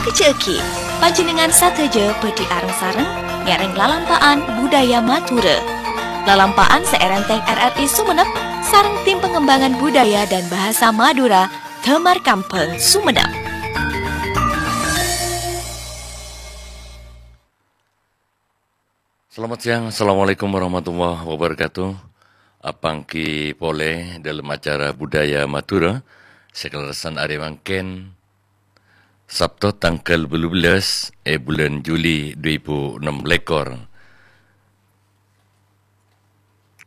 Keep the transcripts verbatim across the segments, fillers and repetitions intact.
Kajjhâ'âghi, panjhennengngan sadhâjâ bhâdhi areng-sareng ngèrèng lalampa'an budaya Madhurâ. Lalampa'an sè èrèntèng R R I Sumenep sareng Tim Pengembangan Budaya dan Bahasa Madura, Damar Kambhâng, Sumenep. Selamat siang, assalamualaikum warahmatullahi wabarakatuh. Apangghi polè dâlem acara Budaya Madhurâ sè kalerressan arè mangkèn, Sabto tangghâl bâllu bellâs è bulân Juli dhu èbu ennem lèkor.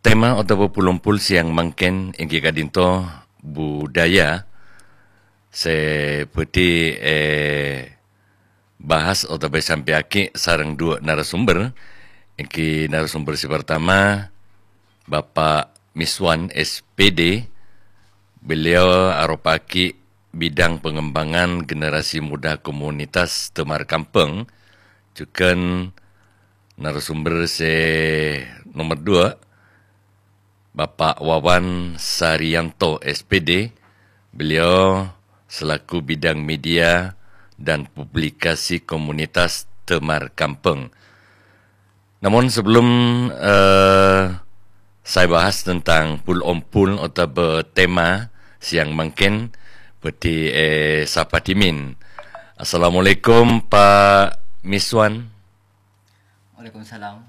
Tema otabâ pul-ompol siang mangkèn èngghi ka'dinto budaya sè bhâdhi, eh, bahas otabâ èsampèyaghi sareng duwâ' narasomber, èngghi narasomber sè partama, Bapak Miswan, S P D. Beliau aropa'aghi bidang pengembangan generasi muda komunitas Damar Kambhâng. Jhughân narasomber sè nomer duwâ', Bapak Wawan Sarianto, S P D, beliau selaku bidang media dan publikasi komunitas Damar Kambhâng. Namun sebelum, eh, saya bahas tentang pul-ompol otabâ tema siang mangkèn, bhâdhi, eh, sapa dhimèn. Assalamualaikum, Pak Miswan. Waalaikumsalam.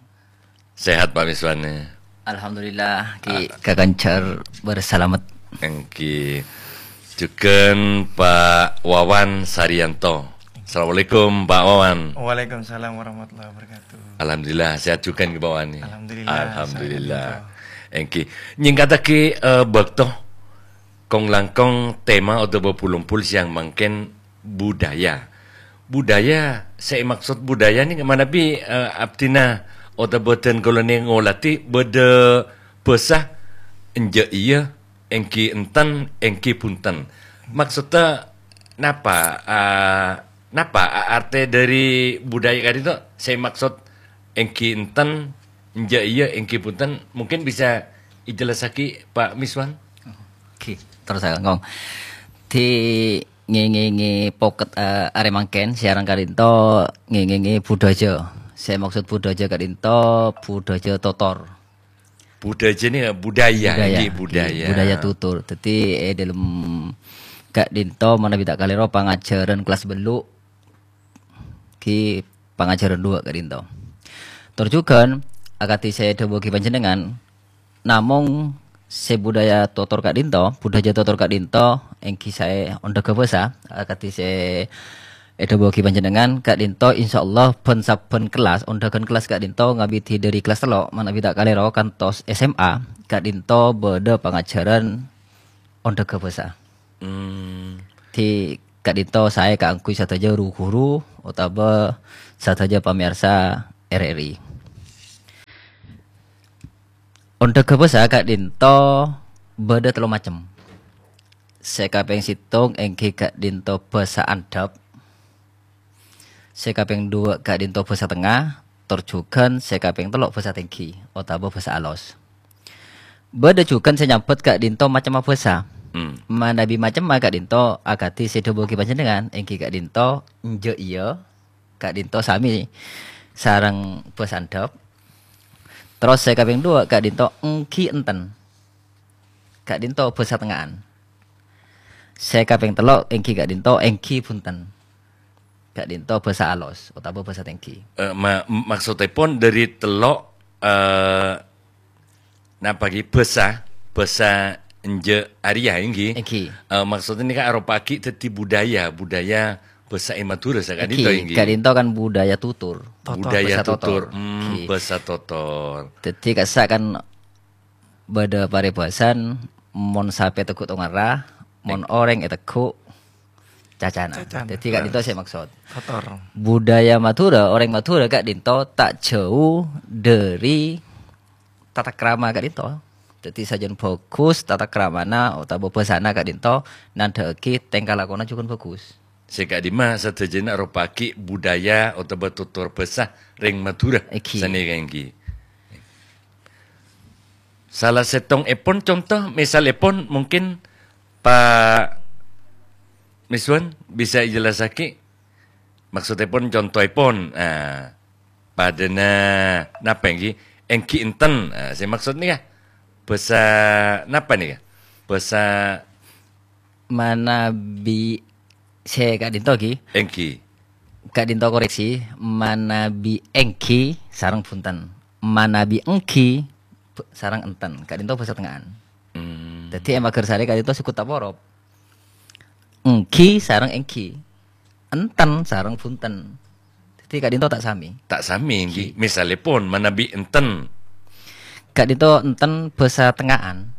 Sehat, Pak Miswan, ya? Alhamdulillah, Ki, Ah. kakancar bersalamet. Èngghi. Jhughân Pak Wawan Sarianto. Assalamualaikum, Pak Wawan. Waalaikumsalam warahmatullahi wabarakatuh. Alhamdulillah, sehat jhughân, Ki, Pak Wawan, ya? Alhamdulillah, Alhamdulillah. sehat jhughân. Èngghi. Nyèngkaddhâghi, eh, bâkto. Kong-langkong tema otabâ pul-ompol siang mangkèn budaya. Budaya, sè èmaksod budaya nèka manabi, eh, abdhina otabâ dân kaulâ nèka ngolatè bâdâ bhâsa enjâ' iyâ, èngghi enten, èngghi bhunten. Maksoddhâ napa, eh, napa a-, artè dâri budaya ka'dinto sè èmaksod èngghi enten, enjâ' iyâ, èngghi bhunten? Mungkin bisa èjellassaghi, Pak Miswan? Oke, terros saya ngomong. Di nge-, nge-, nge-, pocket, eh, arè mangkèn, siaran ka'dinto, nge-, nge-, nge-, budhâjâ. Sè maksod budhâjâ ka'dinto, budhâjâ totor. Budhâjâ nèka budaya, Budaya, ngghi, budaya. Budaya tutur. Dhâddhi, è dâlem ka'dinto, manabi ta' kalèro, pangajhârân kellas bâllu', ghi pangajhârân duwâ' ka'dinto. Tor jhughân, akadhi sè èdhâbuwaghi panjhennengngan, namong sè budaya totor ka'dinto, budhâjâ totor ka'dinto, èngghi sè ondhâghâ bhâsa, akadhi sè èdhâbuwaghi panjhennengngan, ka'dinto, insyaallah, bân-sabbhân kellas, ondhâghân kellas ka'dinto, ngabidhi dâri kellas tello', manabi ta' kalèro, kantos S M A, ka'dinto bâdâ pangajhârân ondhâghâ bhâsa. Hmm. Di ka'dinto saè kaangghuy sadhâjâ ru-ghuru otabâ sadhâjâ pamèyarsa R R I. Ondhâghâ bhâsa ka'dinto bâdâ tello macem. Sè kapèng sèttong èngghi ka'dinto bhâsa andhâp. Sè kapèng duwâ' ka'dinto bhâsa tengnga, tor jhughân sè kapèng tello' bhâsa tèngghi, otabâ bhâsa alos. Bâdâ jhughân sè nyambhât ka'dinto macemma bhâsa. Hmm. Manabi macemma ka'dinto akadhi sè èdhâbuwaghi panjhennengngan, èngghi ka'dinto enjâ' iyâ, ka'dinto samè sareng bhâsa andhâp. Terros sè kapèng duwâ' ka'dinto èngghi enten. Ka'dinto bhâsa tengnga'an. Sè kapèng tello' èngghi ka'dinto èngghi bhunten. Ka'dinto bhâsa alos otabâ bhâsa tèngghi. Eh, ma-, maksoddhâpon dâri tello', eh, napa ghi bhâsa, bhâsa enjâ' arèya, èngghi? Èngghi. Eh, maksoddhâ nèka aropa'aghi dhâddhi budaya, budaya bhâsa è Madhurâ saka'dinto, Èngghi, èngghi? Ka'dinto kan budaya tutur. Totor. Budaya Bhâsa totor. Totor. Hmm, Èngghi. Bhâsa totor. Dhâddhi kassa' kan bâdâ paribhâsan, mon sapè ètegghu' tongarra, mon Èng- orèng ètegghu' cacana. Cacana. Dhâddhi ka'dinto sè maksod. Totor. Budaya Madhurâ, orèng Madhurâ ka'dinto ta' jhâu dâri tatakrama ka'dinto. Dhâddhi sajân bhâghus tatakramana otabâ bhâsana ka'dinto nandhâ'aghi tèngka lakona jhughân bhâghus. Sè ka'dimma sadhâjâna aropa'aghi budaya otabâ tutur bhâsa rèng Madhurâ Èngghi. sanèka èngghi. Sala sèttongèpon conto, misalèpon, mungkin Pak Miswan bisa èjellassaghi Maksoddhèpon, contoèpon, ah, padâna napa ènggi? Ènggi enten. Ah, sè maksod nèka bhâsa napa nèka? Bhâsa Manabi sè ka'dinto, ghi. Ènggi. Ka'dinto koreksi, manabi ènggi sareng bhunten. Manabi ènggi b-, sareng enten. Ka'dinto bhâsa tengnga'an. Hmm. Dhâddhi, è Magersari ka'dinto sè ghun taporop. Ènggi sareng ènggi. Enten sareng bhunten. Dhâddhi, ka'dinto ta' samè. Ta' samè, ènggi. Ènggi. Misalèpon, manabi enten. Ka'dinto enten bhâsa tengnga'an.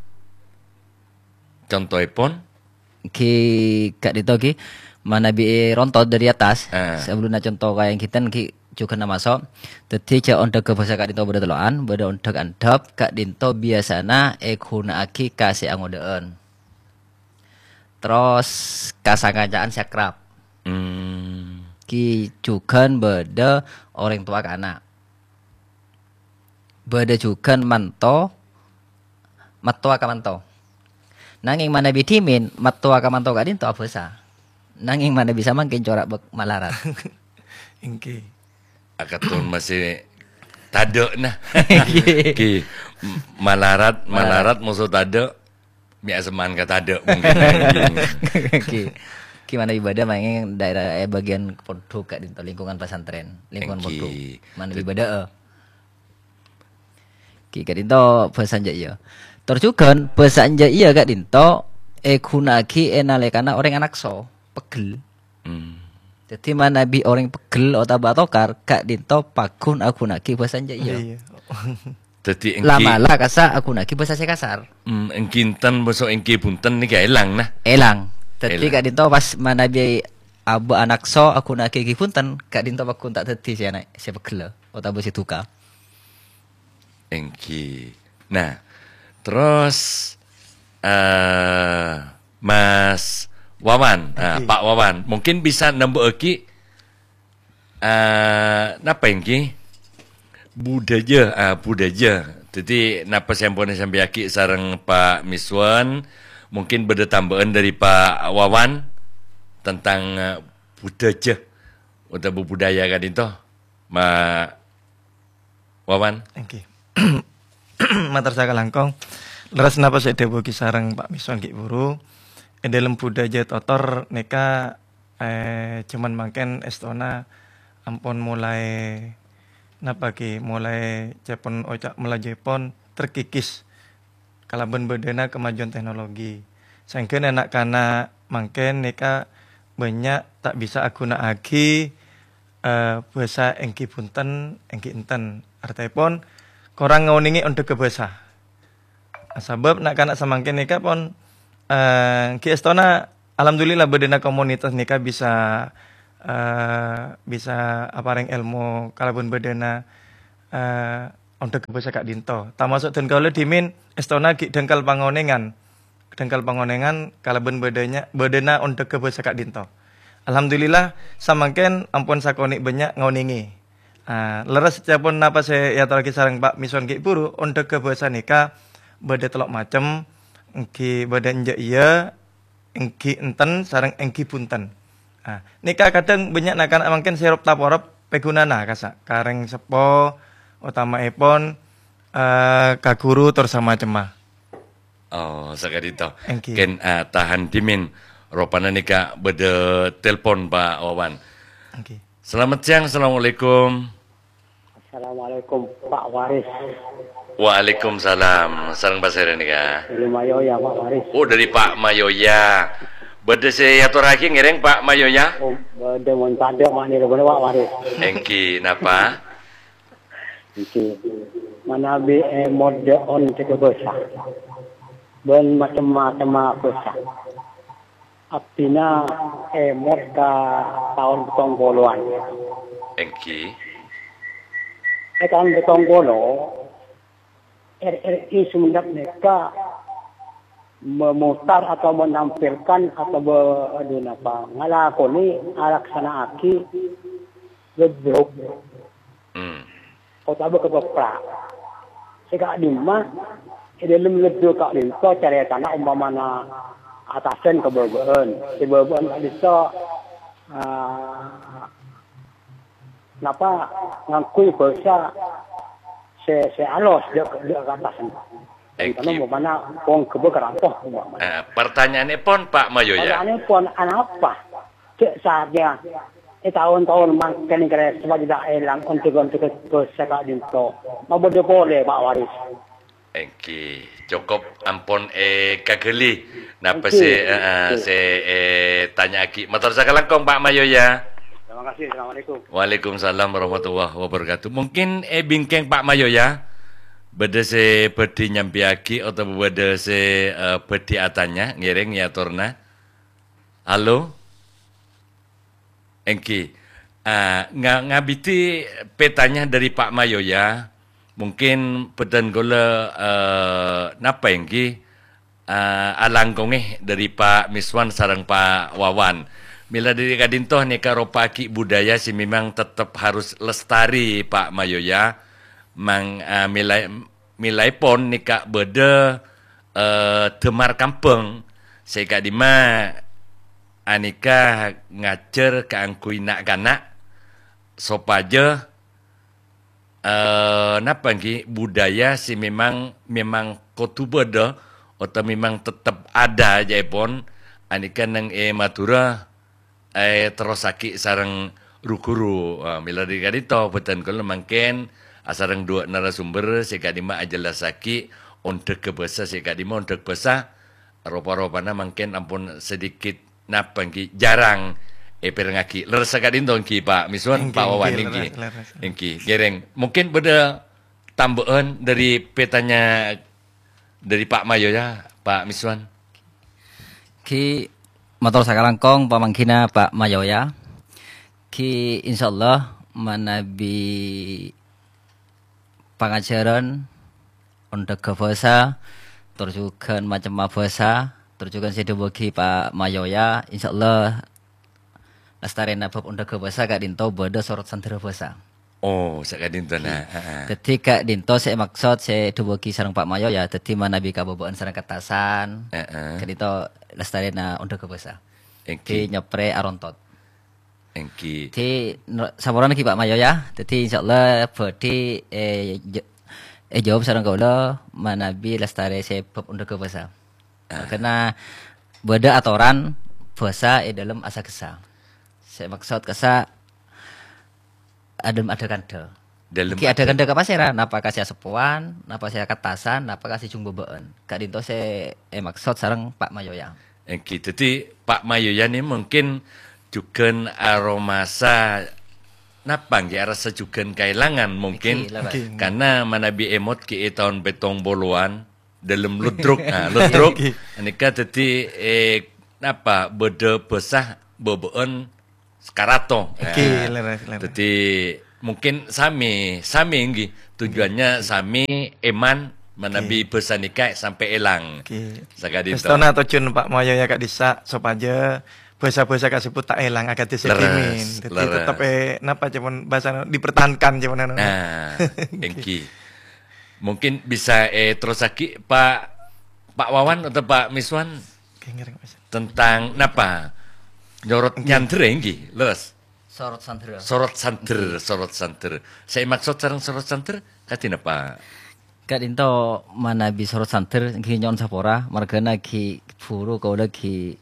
Contoèpon? Ghi, ka'dinto ghi, manabi èronto dâri attas, Ah. sabellunna conto kaya ènggi ten ghi jhughân namaso'. Dhâddhi jhâ' ondhâghâ bhâsa ka'dinto bâdâ tello'an, bâdâ ondhâg andhâp, ka'dinto biyasana èghuna'aghi ka sè angodâ'ân. Terros ka sakanca'an sè akrab. Hmm. Ghi jhughân bâdâ orèng towa ka ana'. Bâdâ jhughân manto, mattowa ka manto. Nangèng manabi dhimèn, mattowa ka manto ka'dinto abhâsa. Nangèng manabi samangkèn cora' bâk malarat. Ènggi. Akaton masih tadâ', nah. Ènggi. Ènggi. M-, malarat, malarat, Malarat. Moso tadâ'. Mè' asemman ka tadâ' mungkin. Ènggi. Ènggi. Ènggi manabi bâdâ mangkèn daerah, eh, bagian pondhuk ka'dinto, lingkungan pesantren, lingkungan Ènggi. Pondhuk. Manabi Dâ- bâdâ, eh. Ghi ka'dinto bhâsa enjâ' iyâ. Tor jhughân bhâsa enjâ' iyâ ka'dinto èghuna'aghi è nalèkana orèng anakso, peggel. Hmm. Dhâddhi manabi orèng peggel otabâ atokar, ka'dinto pagghun aghuna'aghi bhâsa enjâ' iyâ. Iyâ. Dhâddhi ènggi La-mala kassa' aghuna'aghi bhâsa sè kasar. Hmm, ènggi enten bhâsa ènggi bhunten nèka èlang, nah. Èlang. Dhâddhi Èlang. ka'dinto pas manabi abâ' anakso aghuna'aghi ènggi bhunten, ka'dinto pagghun ta' dhâddhi sè ana-, sè peggella otabâ sè duka. Ènggi. Nah, terros, eh, Mas Wawan, eh, Ènggi. Pak Wawan, mungkin bisa nambâ'âghi, eh, napa ènggi? Budhâjâ, eh, budhâjâ. Dhâddhi, napa sè ampon èsampèyaghi sareng Pak Miswan, mungkin bâdâ tambâ'ân dâri Pak Wawan tentang, eh, budhâjâ otabâ budaya ka'dinto, Ma-, Wawan? Ènggi. Mator sakalangkong. Lerres napa sè èdhâbuwaghi sareng Pak Miswan ghi' buru. È dâlem budhâjâ totor nèka, eh, jhâman mangkèn èstona ampon molaè, napa ghi, molaè ca'èpon oca' Malajuèpon terkikis kalabân bâdâna kemajuan teknologi. Saèngghâ na'-kana' mangkèn nèka bânnya' ta' bisa aghuna'aghi, eh, bhâsa ènggi bhunten, ènggi enten. Artèpon, korang ngonèngè ondhâghâ bhâsa. Sabâb na'-kana' samangkèn nèka pon, eh, ghi èstona, alhamdulillah, bâdâna komunitas nèka bisa, eh, bisa aparèng èlmo kalabân bâdâna, eh, ondhâghâ bhâsa ka'dinto. Tamaso' dân kaulâ dhimèn èstona ghi' dhângkal pangonèngan. Dhângkal pangonèngan kalabân bâdânya-, bâdâna ondhâghâ bhâsa ka'dinto. Alhamdulillah, samangkèn ampon sakonè' bânnya' ngonèngè. Ah, lerres ca'èpon napa sè èatorraghi sareng Pak Miswan ghi' buru, ondhâghâ bhâsa nèka bâdâ tello' macem, ènggi bâdâ enjâ' iyâ, ènggi enten, sareng ènggi bhunten. Ah, nèka kadhâng bânnya' na'-kana' mangkèn sè rop-taporop pèghunana kassa' ka rèng seppo, otama'èpon, eh, ka ghuru, tor samacemma. Oh, saka'dinto. Ènggi. Kèng, eh, tahan dhimèn. Ropana nèka bâdâ telpon, Pak Wawan. Ènggi. Selamat siang, assalamualaikum. Assalamualaikum, Pak Waris. Waalaikumsalam. Sareng pasèra nèka? Dâri Mayoya, Pak Waris. Oh, dâri Pak Mayoya. Bâdâ sè èatorraghi ngèrèng, Pak Mayoya? Oh, bâdâ mon tadâ' ma'nèra bâdâ, Pak Waris. Ènggi, napa? Ènggi. Manabi èmot dâ' ondhâghâ bhâsa bân macem-macemma bhâsa. Abdhina èmot ka taon pèttong polowan. Ènggi. È taon pèttong polo, R R I Sumenep nèka memutar atau menampilkan atau be-, adu napa, ngalakonè, alaksana'aghi leddo Hmm. otabâ kapèpra'. Sè ka'dimma, è dâlem leddo ka'dinto carètana ompamana atasan ka bâbâ'ân. Sè bâbâ'ân ka'dinto, ah, Napa ngangghuy bhâsa sè, sè alos, dâ', dâ' ka attas? Èngghi. Karna umpamana wong ghâbây ka rato, umpamana. Eh, pertanyaanèpon, Pak Mayoya. Pertanyaanèpon, anapa? Cè' saatnya, è taon-taon mangkèn kèrè sopajâ ta' èlang ondhâg-ondhâgghâ bhâsa ka'dinto. Mabâdâ polè, Pak Waris. Èngghi, cokop ampon èkaghâli napa Èngghi. sè, eh, eh, Èngghi. sè ètanya'aghi. Mator sakalangkong, Pak Mayoya. Terima kasih. Assalamualaikum. Waalaikumsalam warahmatullahi wabarakatuh. Mungkin è bingkèng Pak Mayoya, bâdâ sè bhâdhi nyampèyaghi otabâ bâdâ sè, eh, bhâdhi atanya, ngèrèng ya atorna. Halo? Èngghi. Ah, nga-, ngabidhi pètanya dâri Pak Mayoya, mungkin bhâdhân kaulâ, eh, napa èngghi, eh, alangkongè dâri Pak Miswan sareng Pak Wawan. Mèla dâri ka'dinto nèka ropa'aghi budaya sè memang tettep harus lestari, Pak Mayoya. Mang-, eh, mèla-, mèlaèpon nèka bâdâ, eh, dâmar kambhâng sè ka'dimma anèka ngajhâr kaangghuy na'-kana' sopajâ, eh, napa èngghi, budaya sè memang, memang kodhu bâdâ otabâ memang tettep ada jâèpon anèka neng è Madhurâ, eh, terrossaghi sareng ru-ghuru. Ah, mèla dâri ka'dinto, bhâdhân kaulâ mangkèn asareng duwâ' narasumber sè ka'dimma ajellassaghi ondhâgghâ bhâsa sè ka'dimma ondhâg bhâsa, ropa-ropana mangkèn ampon sedikit napa èngghi, jarang èpèrengngaghi. Lerres ka'dinto èngghi, Pak Miswan, Èngghi, Pak Wawan èngghi, èngghi. lerres, lerres. Èngghi, ngèrèng. Mungkin bâdâ tambâ'ân dâri pètanya dâri Pak Mayoya, Pak Miswan. Ghi mator sakalangkong pamanggina Pak Mayoya. Ghi insyaallah manabi pangajhârân ondhâgghâ bhâsa, tor jhughân macemma bhâsa, tor jhughân sè èdhâbuwaghi Pak Mayoya, insyaallah lastarèna bab ondhâgghâ bhâsa ka'dinto bâdâ sorot sandhârâ bhâsa. Oh, saka'dinto, Ghi. nah. Heeh. Dhâddhi ka'dinto sè èmaksod sè èdhâbuwaghi sareng Pak Mayoya, dhâddhi manabi kabâbâ'ân sareng kertasan, Heeh. ka'dinto lastarèna ondhâgghâ bhâsa. Èngghi. Ghi nyoprè arontot. Èngghi. Dhâddhi, no-, saporana ghi, Pak Mayoya. Dhâddhi, insyaallah bhâdhi, eh, j-, èjâwâb sareng kaulâ manabi lastarè sè bab ondhâgghâ bhâsa. Ah. Karna bâdâ atoran bhâsa è dâlem asa-ghessa. Sè èmaksod kassa' è dâlem ada-kandhâ. Dâlem Ghi ada- ada-kandhâ ka pasèra? Napa ka sè aseppowan, napa sè kertasan, napa ka sè jhung bâbâ'ân. Ka'dinto sè èmaksod sareng Pak Mayoya. Èngghi, dhâddhi Pak Mayoya nè mungkin jhughân aromasa napa èngghi, arassa jhughân kaèlangan mungkin. Èngghi, lerres. Èngghi. Karna manabi èmot ghi è taon pèttong polowan, dâlem Ludruk. Nah, Ludruk Èngghi. nèka dhâddhi, eh, napa, bâdâ bhâsa bâbâ'ân Sakarato. Èngghi, Nah, lerres, lerres. dhâddhi mungkin samè, samè èngghi. Tujuannya samè èman manabi Èngghi. bhâsa nèka sampè' èlang. Èngghi. Saka'dinto. Èstona tojjhuwân Pak Mayoya ka'dissa' sopajâ bhâsa-bhâsa kasebut ta' èlang akadhi sè Lerres, ghimèn. Dhâddhi lerres. tettep è, napa ca'èpon bhâsana dipertahankan ca'èpon anu. Nah, èngghi. Mungkin bisa, eh, terrossaghi Pak, Pak Wawan atau Pak Miswan Èngghi, ngèrèng, Mas. tentang napa? Nyorot Èngghi. nyandher èngghi, lerres. Sorot sandhârâ. Sorot sandher, sorot sandher. Sè èmaksod sareng sorot sandher, kadhi napa? Ka'dinto manabi sorot sandher, èngghi nyo'on sapora, marghâna ghi buru kaulâ ghi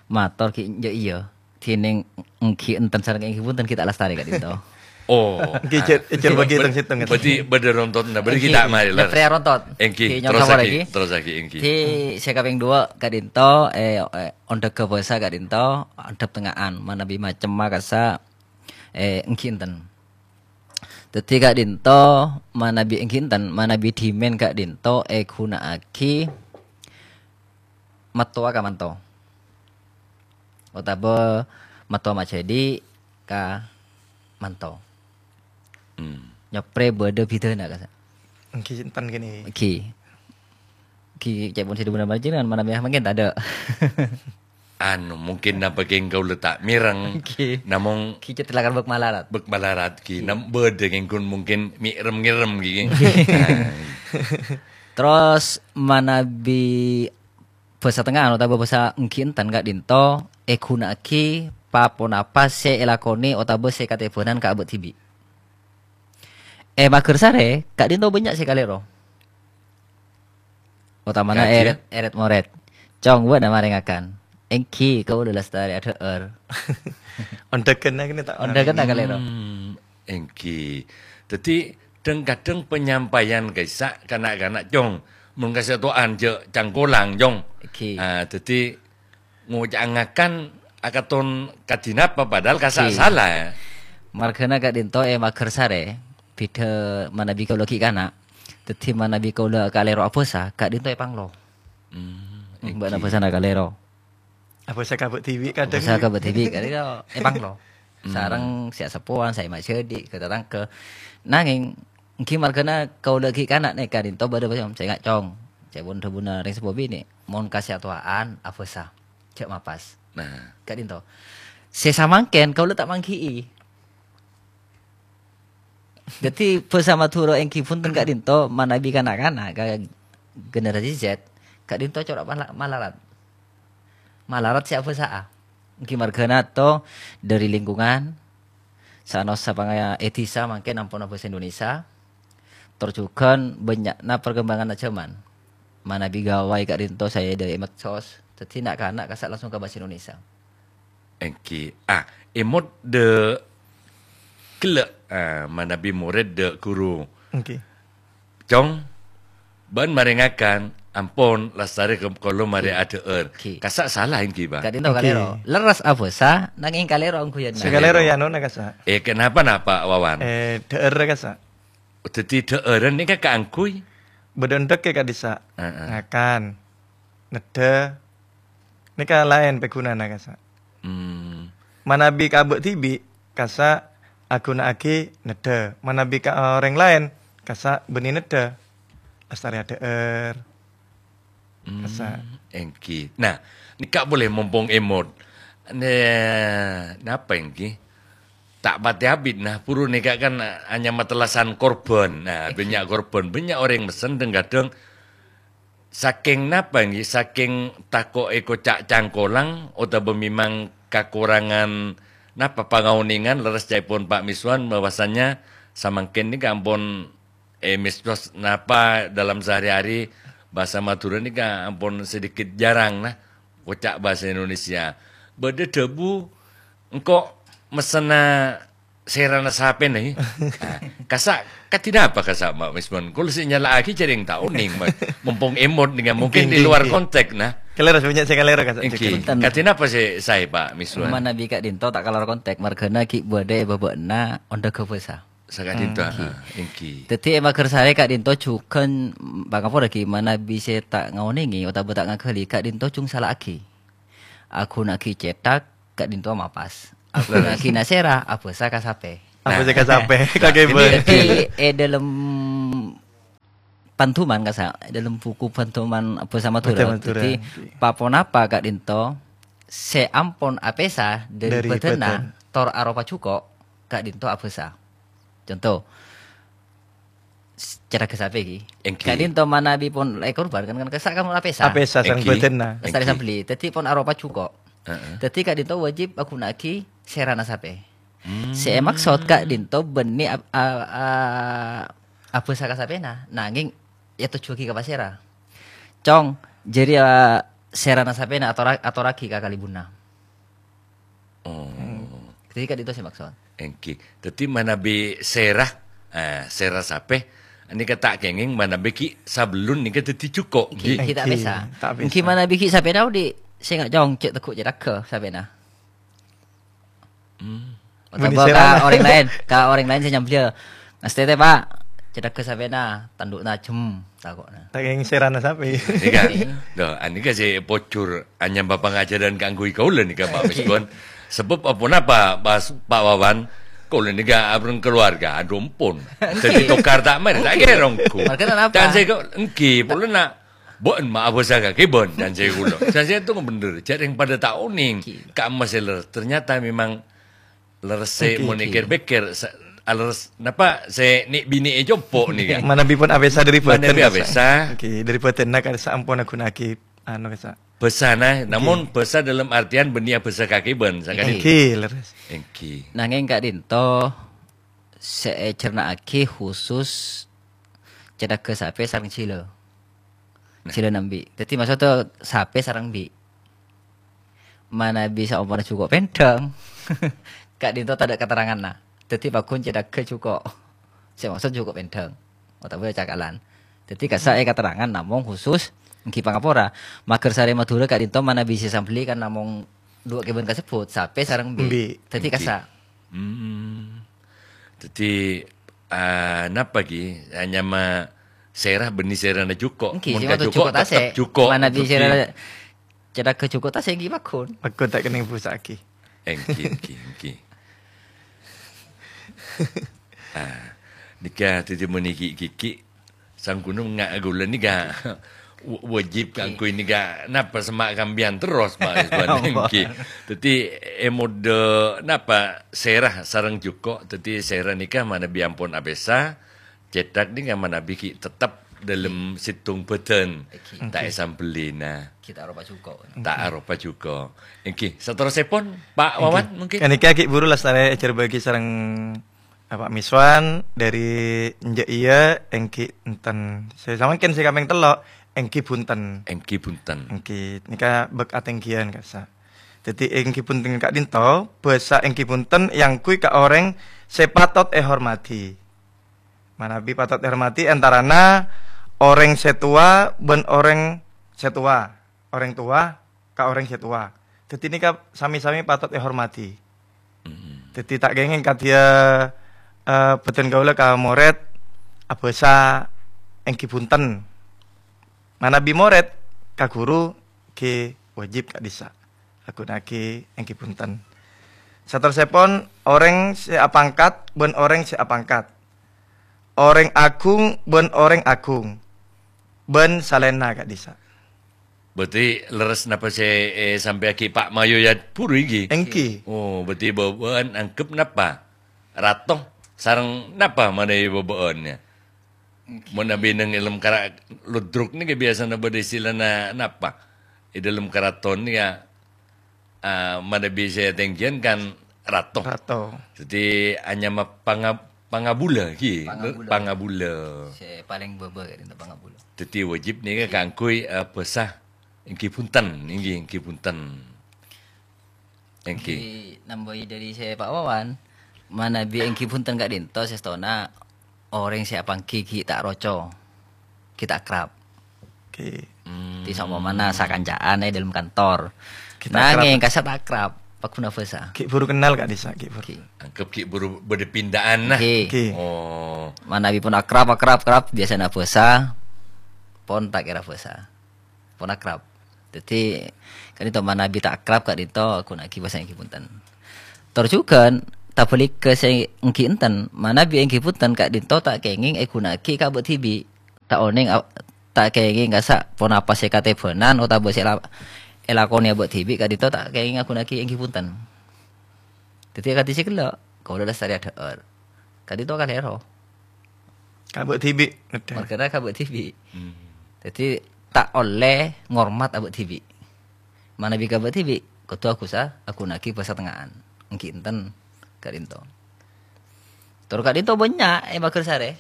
mator ghi enjâ' iyâ. Dhinèng èngghi enten sareng èngghi bhunten ghi ta' lastarè ka'dinto. Oh. Èngghi, jhâ', jhâ' bâgi Bâ-, tong-sèttong, bâdhi, bâdâ rontotna, bâdhi Èngghi, ghi ta' marè, ler. nyaprè rontot. Èngghi, Èngghi, nyo'on terrossaghi, sapora, èngghi. terrossaghi, èngghi. Dhi, sè kapèng duwâ' ka'dinto, eh, eh, ondhâgghâ bhâsa ka'dinto, andhâp tengnga'an, manabi macemma kassa', eh, èngghi enten. Dhâddhi ka'dinto, manabi èngghi enten, manabi dhimèn ka'dinto èghuna'aghi mattowa ka manto. Otabâ mattowa majhâdi' ka manto. Hmm. Nyaprè bâdâ bhidhâna, kassa'. Èngghi enten kènè. Èngghi. Èngghi ca'èpon sè dhi-budhina panjhennengngan manabi mangkèn tadâ'. Anu, mungkin napa kèng kaulâ ta' mèreng. Èngghi. Namong Èngghi cè' telakan bâk malarat. bâk malarat, ghi. Èngghi. Nam-, bâdâ kèng ghun mungkin mèrem-ngèrem, ghi. Èngghi. Nah. Terros manabi bhâsa tengnga'an otabâ bhâsa èngghi enten ka'dinto èghuna'aghi pa-ponapa sè èlakonè otabâ sè katèbhânan ka abâ' dhibi'. È Maghârsarè, ka'dinto bânnya' sè kalèro. Otamana èrèt-èrèt morèt. Cong, bâ'na marèngakan. Èngghi, kaulâ lastarè adhâ'âr. Ondhâghânna kènè ta' Ondhâghânna kalèro. Hmm, èngghi. Dhâddhi, dhâng-kadhâng penyampaian ka'issa' ka na'-kana', Cong. Mon kasè towan jhâ' cangkolang, Cong. Èngghi. Ah, dhâddhi, ngoca' ngakan akaton kadhi napa, padahal kassa' Oke. sala, ya. Marghâna ka'dinto è Maghârsarè, bhidhâ manabi kaulâ ghi' kana'. Dhâddhi manabi kaulâ kalèro abhâsa, ka'dinto èpanglo. Hmm, Bâ'na èngghi. Bhâsana kalèro. Abhâsa ka bâ' dhibi' kadhâng. Abhâsa ka bâ' dhibi' kalèro èpanglo. Hmm. Sareng sè aseppowan, sè majhâdi', ka tatangghâ. Nangèng, èngghi marghâna kaulâ ghi' kana' nèka ka'dinto bâdâ bhâsa, sènga' cong. Ca'èpon dhâbuna rèng seppo binè', mon kasè atowan, abhâsa. Jhâ' mapas. Nah. Ka'dinto. Sè samangkèn kaulâ ta' mangghi'i. Dhâddhi, bhâsa Madhurâ èngghi bhunten ka'dinto manabi kana'-kana' ka generasi Z, ka'dinto cora' mala-, malarat. Malarat sè abhâsa'a. Èngghi marghâna to dhâri lingkungan, Sa'nosa pangaya è dhisa mangkèn ampon abhâsa Indonesia. Tor jhughân bânnya'na perkembanganna jhâman. Manabi ghâbây ka'dinto saè dhâri medsos, dhâddhi na'-kana' kassa' langsung ka bhâsa Indonesia. Èngghi. Ah, èmot dhâ' ghellâ', ah, manabi morèd dhâ' ghuru. Èngghi. Cong, bâ'na marèngakan, ampon, lastarè ka-, kaulâ marè Ki. adhâ'âr. Ki. Kassa' sala èngghi, Pak? Ka'dinto Ki. kalèro. Lerres abhâsa, nangèng kalèro angghuyanna. Sè kalèro Kalèro. ya, nona kassa'. Eh, kenapa napa, Wawan? Eh, dhâ'âr kassa'. Dhâddhi dhâ'ârân nèka kaangghuy? Bâdâ endhek è ka'dissa'. Heeh. Ngakan. Neddhâ. Nèka laèn pèghunana kassa'. Hmm. Manabi ka abâ' dhibi', kassa' aghuna'aghi neddhâ. Manabi ka orèng laèn, kassa' bânnè neddhâ. Lastarè adhâ'âr. Hmm, Kassa'. èngghi. Nah, nèka polè mompong èmot. Nè-, napa èngghi? Ta' patè abit, nah, buru nèka kan anyama tellasan korban. Nah, Èngghi. bânnya' korban, bânnya' orèng mesen dhâng-kadhâng Sakèng napa, èngghi? Sakèng tako' èkoca' cangkolang otabâ mèmang kakorangan napa pangaonèngan, lerres ca'èpon Pak Miswan bahwasanya samangkèn nèka ampon, eh, medsos napa dalam sehari-hari bhâsa Madhurâ nèka ampon sedikit jarang, nah, koca' bhâsa Indonesia. Bâdâ dhâbu, "Engko' messenna sèrana sapèna, è?" Nah, kassa', kadhi napa kassa', Pak Miswan? Kaulâ sè nyala'aghi jhârèng ta' onèng, Pak. Mompong èmot nèka, mungkin Èngghi, di luar èngghi. konteks, nah. Kalèro, bânnya' sè kalèro, kassa'. Èngghi. Bhunten. Kadhi napa sè saè, Pak Miswan? Manabi ka'dinto ta' kalèro konteks, marghâna ghi' bâdâ è bâbâna ondhâghâ bhâsa. Saka'dinto, Hmm. ah, èngghi. Dhâddhi è Maghârsarè ka'dinto jhughân, pangapora ghi' manabi sè ta' ngaonèngè otabâ ta' ngaghâli, ka'dinto jhung sala'aghi. Aghuna'aghi cèthak, ka'dinto mapas. Aghuna'aghi nasèra, abhâsa ka sapè. Abhâsa ka sapè, Nah, ka nah, kèbâ. ini Dhâddhi, è dâlem panduman, kassa', è dâlem buku panduman bhâsa Madhurâ. Bhâsa Madhurâ. Dhâddhi, Oke. pa-ponapa ka'dinto sè ampon apèsa dhâri Dhâri bâdânna, bâdân. tor aropa jhuko', ka'dinto abhâsa. Conto, s-, cèthagghâ sapè, ghi. Èngghi. Ka'dinto manabi pon èkorban, kan, kan kassa' kan apèsa. Apèsa sareng Èngghi. bâdânna. Lastarè Èngghi. sambelli. Dhâddhi pon aropa jhuko'. Heeh. Dhâddhi ka'dinto wajib aghuna'aghi sèrana sapè. Hmm. Sè èmaksod ka'dinto bânnè ap-, a-, a-, abhâsa ka sapèna, nangèng ètojjhuwâghi ka pasèra. Cong, jârèya sèrana sapèna atora-, atorraghi ka kalèbunna. Oh. Hmm. Dhâddhi ka'dinto sè maksod. Èngghi. Dhâddhi manabi sèra, eh, sèra sapè, nèka ta' kèngèng manabi ghi' sabellun nèka dhâddhi jhuko', Ghi', ghi'. ghi' ta' Èngghi, apèsa. ta' apèsa. Èngghi manabi ghi' sapèna odi', sènga' cong, cè' teggu' cèthagghâ sapèna. Hmm. Bânnè Otabâ sèrana. ka orèng laèn, ka orèng laèn sè nyambelliyâ. "Ngastètè, Pak, cèthagghâ sapèna, tandu'na jem," tako'na. Ta' kèngèng sèrana sapè. Nèka, Oke. Duh, anèka sè pojhur anyama pangajhârân kaangghuy kaulâ nèka, Pak Miswan. Sabâb aponapa, Pak, Pak Wawan? Kaulâ nèka abhâreng keluarga, adhu ampon. Dhâddhi tokar ta' marè, ta' Oke. kèra ongghu. Marghâna napa? Can sè ko-, èngghi, polana bâ'na ma' abhâsa kakèbân, can sè kaulâ. Can sè ètong bhender, jhârèng padâ ta' onèng. Oke. Ka'emma sè ler-, ternyata memang Lerres sè Oke, mon oke. èkèr-pèkèr, sa-, aleres, napa, sè nè'-binè' è compo' nèka. Manabi pon apèsa dhâri bâdân, Manabi kassa'. apèsa. Oke, dhâri bâdânna, kassa' ampon aghuna'aghi, anu, kassa'. Bhâsana, Èngghi. Namong bhâsa dalam artian bânnè abhâsa kakèbân, sakadinto. Èngghi, lerres. Èngghi. Nangèng ka'dinto sè ècerna'aghi khusus cèthagghâ sapè sareng jhilâ. Nah. Jhilâ nambi'. Dhâddhi maksodda sapè sareng bi'. Manabi saomporra jhuko' pèndhâng, ka'dinto tadâ' katerranganna. Dhâddhi pagghun cèthagghâ jhuko'. Sè maksod jhuko' pèndhâng. Otabâ cakalan. Dhâddhi kassa' è katerrangan namong khusus èngghi pangapora. Maghârsarè Madhurâ ka'dinto manabi sè sambelli kan namong duwâ' kèbân kasebbhut, sapè sareng bi'. Bi'. Dhâddhi Èngghi. Kassa'. Hmm. Dhâddhi, ah, napa ghi? Ah, nyama sèra bânnè sèrana jhuko'. Èngghi, Mon sè ka maksod jhuko' jhuko' tèttep tasè'. Jhuko'. Manabi Dhâddhi sèrana cèthagghâ jhuko' tasè' èngghi pagghun. Pagghun ta' kennèng bhusa'aghi. Èngghi, èngghi, èngghi. Ah, nèka dhâddhi mon èngghi-èngghi, sangghunan nga' ghulâ nèka wa-, wajib Èngghi. Kaangghuy nèka napa semma' kampèyan terros, Pak Rizwan, Oh. Èngghi. Dhâddhi, è modâ napa sèra sareng jhuko', dhâddhi sèra nèka manabi ampon apèsa, cèthak nèka manabi ghi' tèttep dâlem sèttong bâdân. Èngghi. Ta' Èngghi. Èsambellina. Ghi' ta' aropa jhuko'. Ta' Èngghi. Aropa jhuko'. Èngghi, saterrossèpon, Pak Èngghi. Wawan, mungkin? Ghânèka ghi' buru lastarè èjhârbâ'âghi sareng Bapak Miswan, dâri enjâ' iyâ, èngghi enten. Sè samangkèn sè kapèng tello', èngghi bhunten. Èngghi bhunten. Èngghi, nèka bâk atèngghiyân kassa'. Dhâddhi, èngghi bhunten ka'dinto, bhâsa èngghi bhunten èangghuy ka orèng sè patot èhormadhi. Manabi patot èhormadhi antarana orèng sè towa bân orèng sè towa. Orèng towa ka orèng sè towa. Dhâddhi nèka sami-sami patot èhormadhi. Mm-mm. Dhâddhi ta' kèngèng kadhiyâ, eh, bhâdhân kaulâ ka morèd abhâsa èngghi bhunten. Manabi morèd ka ghuru ghi wajib ka'dhissa'. Aghuna'aghi èngghi bhunten. Saterrossèpon, orèng sè apangkat bân orèng sè apangkat. Orèng aghung bân orèng aghung. Bân salaènna ka'dhissa'. Berarti lerres napa sè, eh, èsampèyaghi Pak Mayoyat buru èngghi? Èngghi. Oh, berarti bâbâ'ân angghep napa? Rato sareng napa manabi bâbâ'ân, yâ? Èngghi. Mon abineng è lem kara ludruk nèka biyasana bâdâ istilana napa? È dâlem karaton nèka, ah, manabi sè tèngghiyân kan rato. Rato. Dhâddhi anyama panga-, pangabulâ, ghi? Pangabulâ. Pangabulâ. Sè palèng bâbâ ka'dinto pangabulâ. Dhâddhi wajib nèka Ghi. Kaangghuy, eh, bhâsa èngghi bhunten, èngghi, èngghi bhunten. Èngghi. Èngghi nambâi dâri sè Pak Wawan, manabi èngghi bhunten ka'dinto sèstona orèng sè apangghi ghi' ta' roco, ghi' ta' akrab. Oke. Hmm. Ti saompamana sakanca'an è dâlem kantor. Ghi' ta' akrab. Nangèng kassa' ta' akrab, pagghun abhâsa. Ghi' buru kennal ka'dhissa', ghi' buru. Ghi'. Angghep ghi' buru bâdâ pinda'anna. Ghi'. Ghi'. Oh. Manabi pon akrab, akrab, akrab, biyasana abhâsa, pon ta' kèra abhâsa. Pon akrab. Dhâddhi, ka'dinto manabi ta' akrab ka'dinto aghuna'aghi bhâsa èngghi bhunten. Tor jhughân, tabhâligghâ sè èngghi enten, manabi èngghi bhunten ka'dinto ta' kèngèng èghuna'aghi ka abâ' dhibi'. Ta' onèng a-, ta' kèngèng kassa' ponapa sè katèbhânan otabâ sè la-, èlakonè abâ' dhibi' ka'dinto ta' kèngèng aghuna'aghi èngghi bhunten. Dhâddhi akadhi sè ghellâ', kaulâ lastarè adhâ'âr. Ka'dinto kalèro. Ka abâ' dhibi', ngedhâ. Marghâna ka abâ' dhibi'. Hmm. Dhâddhi, ta' ollè ngormat abâ' dhibi'. Manabi ka abâ' dhibi', kodhu aghusâ, aghuna'aghi bhâsa tengnga'an. Èngghi enten, ka'dinto. Tor ka'dinto bânnya' è Maghârsarè.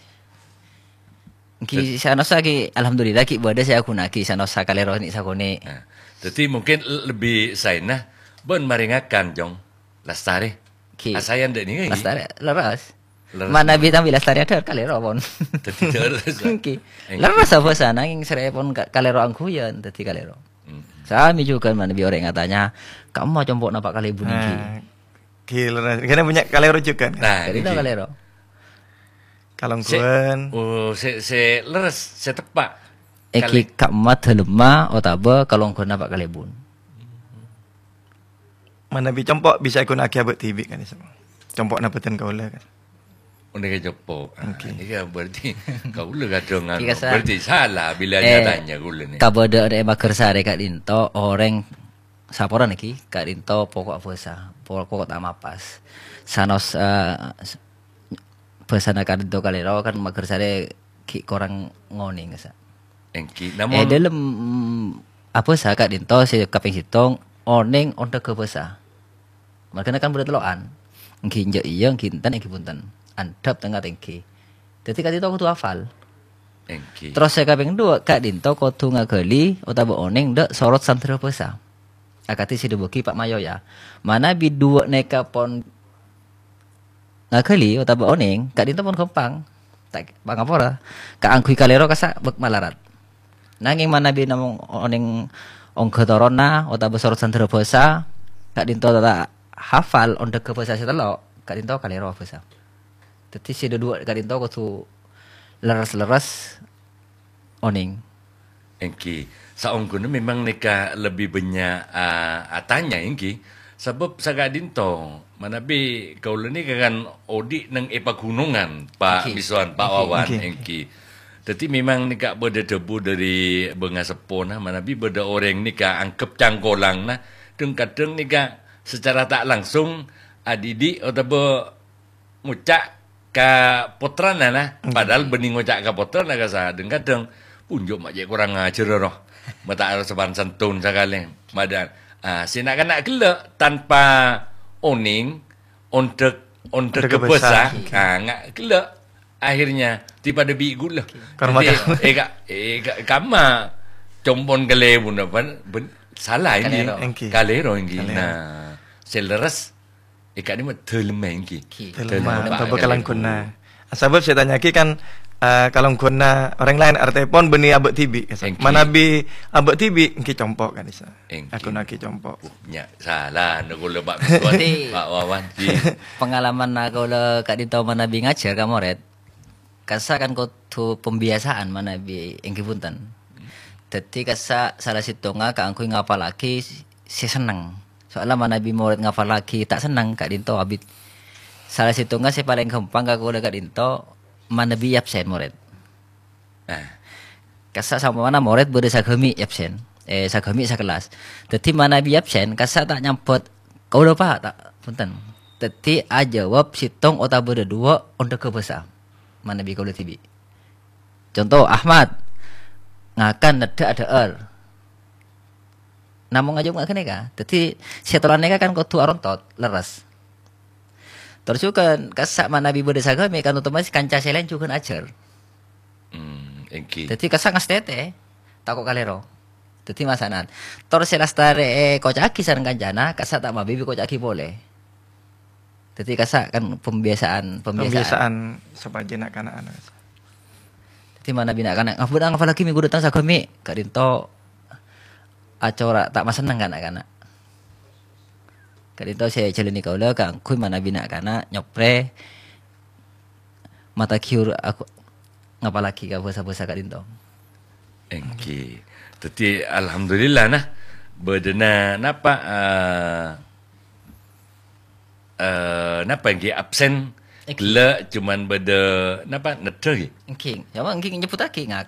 Èngghi Dad- sè anossa ghi, alhamdulillah, ghi bâdâ sè aghuna'aghi sè anossa kalèro nè' sakonè'. Nah, dhâddhi mungkin l-, lebbi saèna bân marèngakan, Jong. Lastarè. Ghi. Asaèn dâ' nènga, ghi? Lastarè, lerres. Lerres. Manabi tambi lastarè adhâ'âr kalèro, pon. Dhâddhi lerres. Ghi. Èngghi. Lerres abhâsa, nangèng sèrè pon ka-, kalèro angghuyan, dhâddhi kalèro. Mm. Sami jhughân manabi orèng atanya, "Ka'emma compo'na Pak Kalèbun èngghi?" Nah, ghi lerres. Kènè' bânnya' kalèro jhughân. Nah, ka'dinto èngghi. Kalèro. Kalongghuwân. Sè, oh, sè, sè lerres, sè teppa'. Èngghi Kalè- ka'emma dhâlemma otabâ kalongghuwânna Pak Kalèbun. Manabi compo' bisa èghuna'aghi abâ' dhibi', kan, Isa? Compo'na bhâdhân kaulâ, kan? Oh, nèka compo'. Ah, Oke. Nèka berarti kaulâ kadhâng anu. Iya, sa- Berarti salah bilâ Eh, nyatanya kaulâ nè. Kabâdâ'ân è Maghârsarè ka'dinto orèng saporana ghi, ka'dinto poko' abhâsa, poko' ta' mapas. Sanos, eh, s-, bhâsana ka'dinto kalèro kan Maghârsarè ghi' korang ngonèng, sa. Èngghi, È namong dâlem, mm, Abhâsa ka'dhinto sè kapèng sèttong, onèng ondhâghâ bhâsa. Marghâna kan bâdâ tello'an. Èngghi enjâ' iyâ, èngghi enten, èngghi bhunten. Andhâp tengnga tèngghi. Dhâddhi ka'dhinto kodhu hafal. Èngghi. Terros sè kapèng duwâ', ka'dhinto kodhu ngaghâli otabâ onèng dâ' sorot sandhârâ bhâsa. Akadhi sè èdhâbuwâghi Pa' Mayo, yâ. Manabi duwâ' nèka pon ngaghâli otabâ onèng, ka'dhinto pon ghâmpang. Ta' pangapora, kaangghuy kalèro kassa' bâk malarat. Nangèng manabi namong onèng ongghâ toronna otabâ sorot sandhârâ bhâsa, ka'dhinto ta' hafal ondhâghâ bhâsa sè tello', ka'dhinto kalèro bhâsa. Dhâddhi sè duwâ' ka'dhinto kodhu lerres-lerres onèng. Èngghi, saongghuna memang nèka lebbi bânnya', a-, atanya, èngghi. Sabâb saka'dhinto, manabi kaulâ nèka kan odi' neng è paghunongan, Pa' Èngghi. Misowan, Pa' Èngghi, Wawan, èngghi. Èngghi. Dhâddhi memang nèka bâdâ dhâbu dâri bângaseppona, manabi bâdâ orèng nèka angghep cangkolangna, dhâng-kadhâng nèka sacara ta' langsung adhidhi' otabâ ngoca' ka pottrana, nah. Ngghi. Padahal bânnè ngoca' ka pottrana kassa', dhâng-kadhâng, "Punjo ma' cè' korang ajhâr, roh. Ma' ta' arep sopan santun sakalè." Padahal, ah, sè na'-kana' ghellâ' tanpa onèng, ondhâk, ondhâk Ondhâk bhâsa, bhâsa. Ah, nga' ghellâ'. Akhirnya, ti padâ bi' ghulâ. Karma Dhâddhi, karma. eh, ka-, eh, ka-, kamma compon kalèbunna, bân, bân, sala èngghi. Kalèro. Èngghi. Kalèro èngghi. Kalèro. Nah, sè lerres, Eh, ka'dimma dhâlemma èngghi. Èngghi. Dhâlemma, Dhâlemma, otabâ Pa' kalèro. Kalangghuwânna. Sabâb sè ètanya'aghi kan, eh, kalangghuwânna orèng laèn, artèpon bânnè abâ' dhibi', kassa'. Èngghi. Manabi abâ' dhibi', èngghi compo' kan, kassa'. Èngghi. Aghuna'aghi compo'. Uh, nya, sala, nèko lho, Pa' Miswan, Èngghi. Pa' Wawan, èngghi. Pengalaman kaulâ ka'dinto manabi ngajhâr ka morèd. Kassa' kan kodhu pembiasaan manabi èngghi bhunten. Dhâddhi kassa' sala sèttongnga kaangghuy ngapallaghi sè senneng. Soalla manabi morèd ngapallaghi ta' senneng ka'dinto abit. Sala sèttongnga sè palèng ghâmpang ka kaulâ ka'dinto manabi absen morèd. Nah, kassa' sampamana morèd bâdâ saghâmi' absen, eh, saghâmi' sakellas. Dhâddhi manabi absen, kassa' ta' nyambhut, "Kaulâ, Pa'," ta', bhunten. Dhâddhi ajâwâb sèttong otabâ dâduwâ' ondhâghâ bhâsa. Manabi kaulâ dhibi'. Conto, Ahmad, ngakan neddhâ' adhâ'âr. Namong ajâwâb nga' ghânèka. Dhâddhi, sè tolana nèka kan kodhu arontot, lerres. Tor jhughân, kassa' manabi bâdâ saghâmi' kan otomatis kanca sè laèn jhughân ajhâr. Hmm, èngghi. Dhâddhi kassa' ngastètè, tako' kalèro. Dhâddhi masana'an. Tor sè lastarè èkoca'aghi sareng kancana, kassa' ta' mabi èkoca'aghi polè. Dhâddhi kassa' kan pembiasaan, pembiasaan. Pembiasaan sopajâ na'-kana'an. Dhâddhi manabi na'-kana', "Ngapa ngapallaghi mènggu dâteng saghâmi'?" Ka'dinto acora' ta' masenneng ka na'-kana'. Ka'dinto sè èjhâlâni kaulâ kaangghuy manabi na'-kana' nyoprè mata ghiur aku ngapallaghi ka bhâsa-bhâsa ka'dinto. Èngghi. Dhâddhi, alhamdulillah, nah. Bâdâna napa, eh, eh, napa èngghi absen? Èngghi. Ghellâ' cuman bâdâ napa, neddhâ, ghi? Èngghi. Ya, èngghi nyebbhuttaghi ngakan.